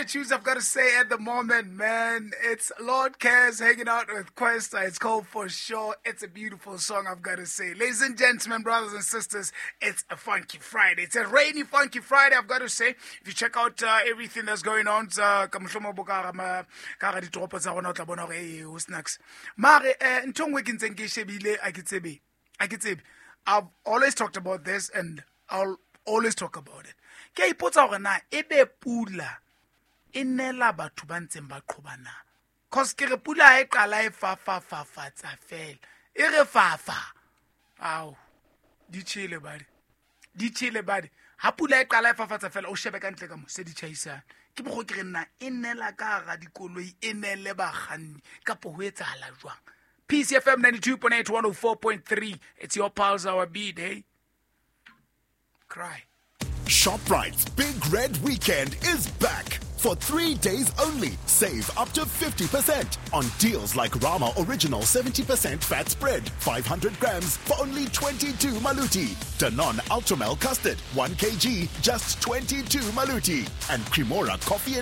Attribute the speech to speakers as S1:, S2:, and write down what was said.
S1: tunes I've got to say at the moment, man. It's Lord Cares hanging out with Kwesta. It's called For Sure. It's a beautiful song, I've got to say. Ladies and gentlemen, brothers and sisters, it's a funky Friday. It's a rainy, funky Friday, I've got to say. If you check out everything that's going on, ka mohlomong bo ka hara ditoropo tsa rona, o tla bona hore, eh, ho snacks. Mare, ntho e nngwe ke ntseng ke e shebile, ha ke tsebe. Ha ke tsebe. I've always talked about this and I'll always talk about it. Ke a ipotsa hore na ebe pula e nela batho ba ntseng ba qhoba na? Cause ke re pula ha e qala e fafafafatsa fela. E re fafa. Ao, di tjhele badi. Di tjhele badi. Ha pula e qala e fafatsa fela, o shebe ka ntle ka mo, se di tjhaisane. Ke mokgwa ke re nna e nela ka hara dikoloi, e nele bakganni, kapo ho etsahala jwang? PCFM 92.8, 104.3. It's your pulse, our beat, hey? Cry.
S2: ShopRite's Big Red Weekend is back. For 3 days only, save up to 50% on deals like Rama Original 70% fat spread, 500 grams for only 22 maluti. Danone Ultramel Custard, 1 kg, just 22 maluti. And Cremora Coffee and